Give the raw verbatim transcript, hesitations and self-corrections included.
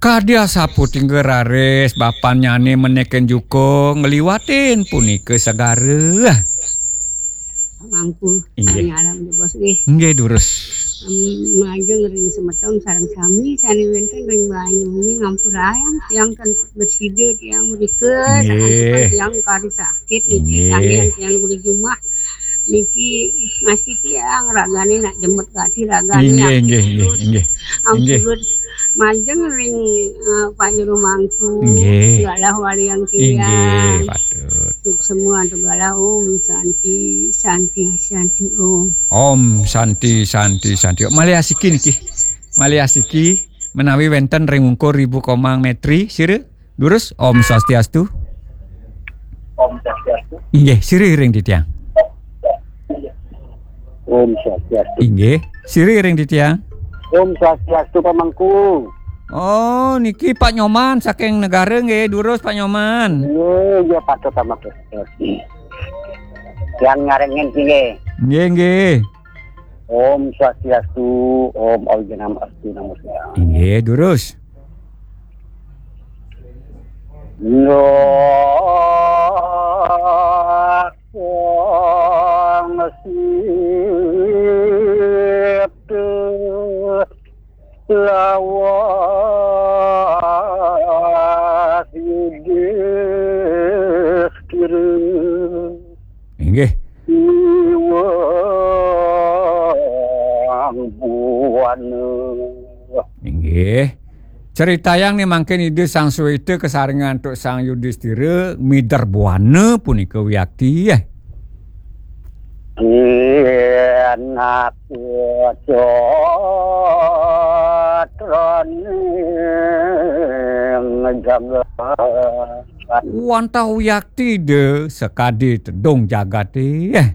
Kadi asapunika raris bapannyané menékin juko ngliwatin punika segara. Mangku, inggih. Nyalam di bos nggih. Inggih, durus. Em, majeng ring semeton sareng sami sané wénten ring banyuné ngampurayang tiang kan bersida tiang mrika, nggih. Sakantukan tiang kari sakit niki, inggih. Kanggihan tiang uli jumah niki masih tiang ragané nak jemet gati ragané. Inggih, inggih, inggih, inggih. Ampun, inggih. Majeng ring, eh, Pak Juru Mangku. Nggih. Galah waliang tiang. Inggih, patut. Tuk semua tu galah Om Santi, Santi, Santi Om. Om Santi, Santi, Santi. Malih asiki niki. Malih asiki menawi wénten ring ungkur Ibu Komang Metri, sira? Durus, Om Swastiastu. Om Swastiastu. Inggih, sira ring titiang. Om Swastiastu. Inggih, sira ring titiang. Om Swastiastu, Pak Mangku. Oh, niki Pak Nyoman saking Negara nggih, durus Pak Nyoman. Nggih, nggih, patut, Pak Mangku. Yang ngarengin nggih. Nggih, nggih. Om Swastiastu, Om Awighnam Astu Namo Sidham. Inggih, durus. Namo Sang Sipta Lawas Yudhistira. Inggih. Iwang Buana. Inggih. Critayang nih mangkin Ida Sang Suwita kasarengan antuk Sang Yudhistira mider buana punika wiakti, eh. Kinat putraning jagat. Wantah wiakti Ida sakadi tedung jagaté, eh.